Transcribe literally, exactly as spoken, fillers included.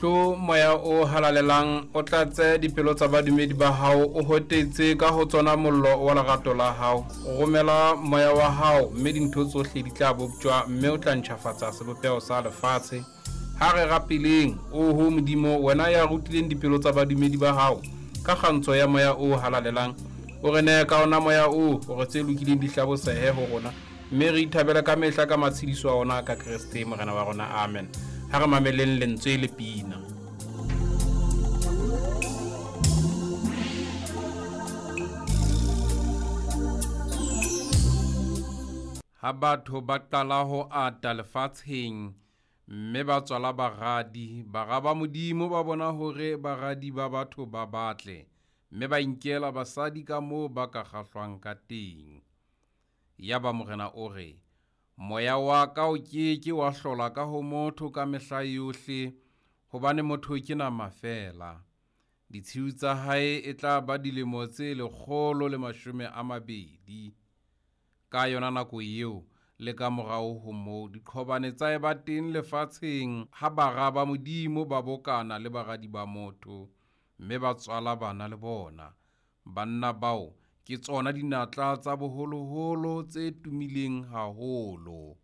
Tlo moya o halalelang, o tlatse dipelo tsa badumedi ba hao, o hotetse ka ho tsona mollo wa lerato la hao. Romela moya wa hao, mme dintho tsohle di tla boptjwa, mme o tla ntjhafatsa sebopeho sa lefatshe. Ha re rapeleng, oho Modimo, wena ya rutileng dipelo tsa badumedi ba hao ka kgantsho ya moya o halalelang, o re nehe ka ona moya oo hore tse lokileng di hlabosehe ho rona, mme re ithabele ka mehla ka matshediso a ona ka Kreste Morena wa rona. Amen. Ha re mameleng lentswe le pina. Ha batho ba qala ho ata lefatsheng, mme ba tswala baradi, bara ba Modimo ba bona hore baradi ba batho ba batle, mme ba inkela basadi ka moo ba ka kgahlwang ka teng. Yaba Morena o re, moya wa ka o ke ke wa hlola ka ho motho ka mehla yohle, hobane motho ke nama feela. Ditshiu tsa hae e tla ba dilemo tse lekgolo le mashome a mabedi. Ka yona nako eo le ka morao ho moo, diqhobane tsa eba teng lefatsheng ha bara ba Modimo ba bokana le baradi ba motho, mme ba tswala bana le bona. Banna bao ke tsona dinatla tsa boholoholo tse tumileng haholo.